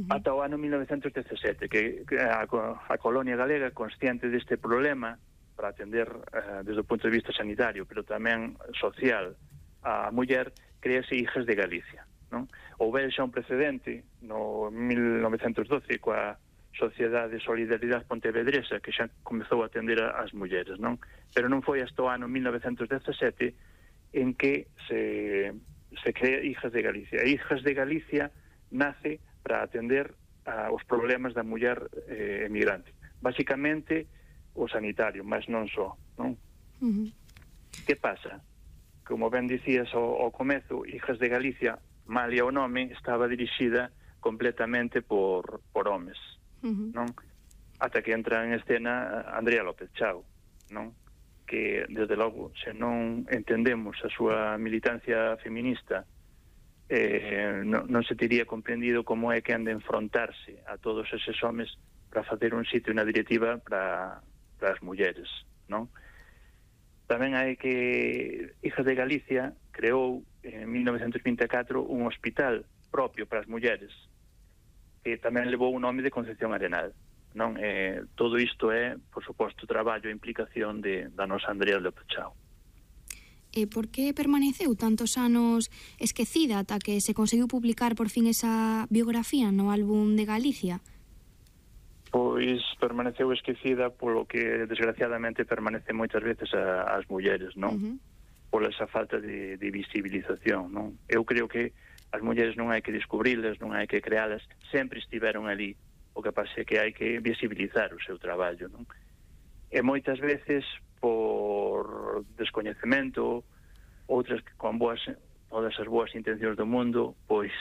ata o ano 1917, que a colonia galega, consciente deste problema, para atender desde o punto de vista sanitario, pero tamén social, a muller, créase Hijas de Galicia, non? Houbera xa un precedente no 1912 coa Sociedade de Solidaridade Pontevedresa, que xa comezou a atender as mulleres, non? Pero non foi hasta o ano 1917 en que se crea Hijas de Galicia. E Hijas de Galicia nace para atender os problemas da muller emigrante. Básicamente o sanitario, mas non só, non? Que pasa? Como ben dicías ao comezo, Hijas de Galicia, malia o nome, estaba dirixida completamente por homes, non? Ata que entra en escena Andrea López Chao, non? Que, desde logo, se non entendemos a súa militancia feminista, non se teria comprendido como é que han de enfrontarse a todos eses homes para facer un sitio na directiva para as mulleres, non? Tamén hai que Hijas de Galicia creou en 1924 un hospital propio para as mulleres, que tamén levou o nome de Concepción Arenal, non? Todo isto é, por suposto, traballo e implicación da nosa Andrea López Chao. E por que permaneceu tantos anos esquecida ata que se conseguiu publicar por fin esa biografía no álbum de Galicia? Pois permaneceu esquecida polo que desgraciadamente permanece moitas veces as mulleres, non? Pola esa falta de visibilización, non? Eu creo que as mulleres non hai que descubrilas, non hai que crealas, sempre estiveron ali. O que pasa é que hai que visibilizar o seu traballo, non? E moitas veces por descoñecemento, outras que con todas as boas intencións do mundo, pois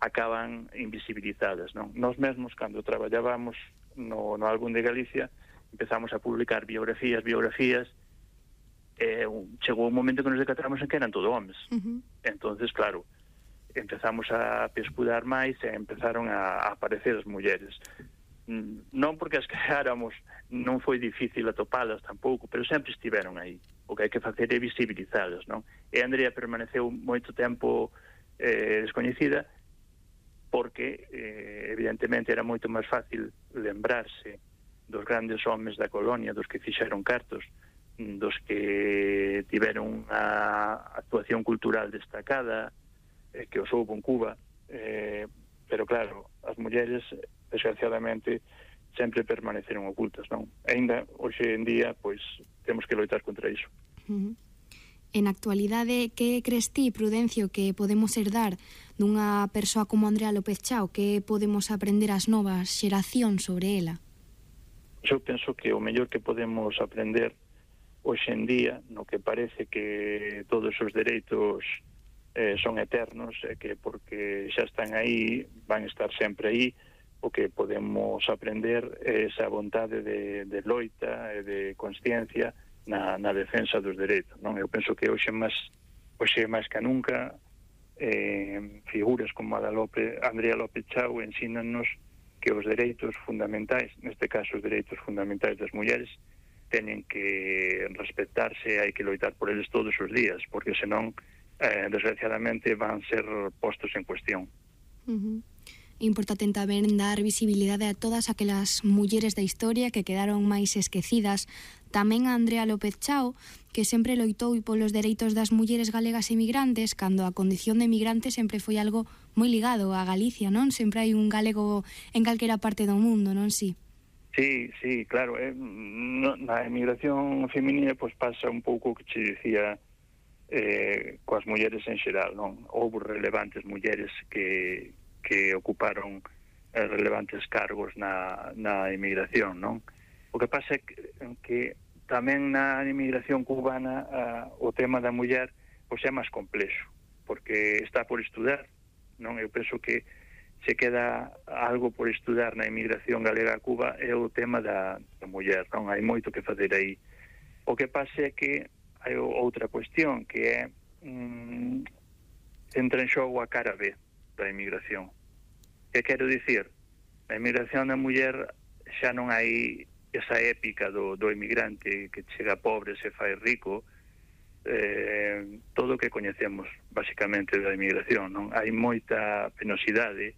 acaban invisibilizadas, non? Nós mesmos, cando traballábamos no álbum de Galicia, empezamos a publicar biografías, chegou un momento que nos decatamos en que eran todo homes. Entonces, claro, empezamos a pescudar máis e empezaron a aparecer as mulleres. Non porque as creáramos, non foi difícil atopalas tampouco, pero sempre estiveron aí. O que hai que facer é visibilizalas, non? E Andrea permaneceu moito tempo descoñecida, porque evidentemente era moito máis fácil lembrarse dos grandes homes da colonia, dos que fixeron cartos, dos que tiveron unha actuación cultural destacada, que os houbo en Cuba, pero claro, as mulleres, desgraciadamente, sempre permaneceron ocultas, non? Ainda, hoxe en día, pois, temos que loitar contra iso. En actualidade, que crees ti, Prudencio, que podemos herdar dunha persoa como Andrea López Chao? Que podemos aprender as novas xeracións sobre ela? Eu penso que o mellor que podemos aprender hoxe en día, no que parece que todos os dereitos son eternos, e que porque xa están aí, van estar sempre aí, o que podemos aprender é esa vontade de loita e de consciencia na defensa dos dereitos, non? Eu penso que hoxe máis que nunca figuras como a da Andrea López Chao ensínanos que os dereitos fundamentais, neste caso os dereitos fundamentais das mulleres, teñen que respetarse, hai que loitar por eles todos os días, porque senón, desgraciadamente, van ser postos en cuestión. É importante tamén dar visibilidade a todas aquelas mulleres da historia que quedaron máis esquecidas. Tamén a Andrea López Chao, que sempre loitou polos dereitos das mulleres galegas emigrantes, cando a condición de emigrante sempre foi algo moi ligado a Galicia, non? Sempre hai un galego en calquera parte do mundo, non si? Sí, claro. Na emigración feminina pois pasa un pouco o que che dicía coas mulleres en xeral, non? Houve relevantes mulleres que ocuparon relevantes cargos na emigración, non? O que pasa é que tamén na emigración cubana o tema da muller pois é máis complexo, porque está por estudar, non? Eu penso que se queda algo por estudar na emigración galega a Cuba é o tema da muller, non? Hai moito que facer aí. O que pasa é que hai outra cuestión, que é entra en xogo a cara B da emigración. Que quero dicir? Na emigración da muller xa non hai esa épica do emigrante que chega pobre, se fai rico, todo o que coñecemos basicamente da emigración, non? Hai moita penosidade,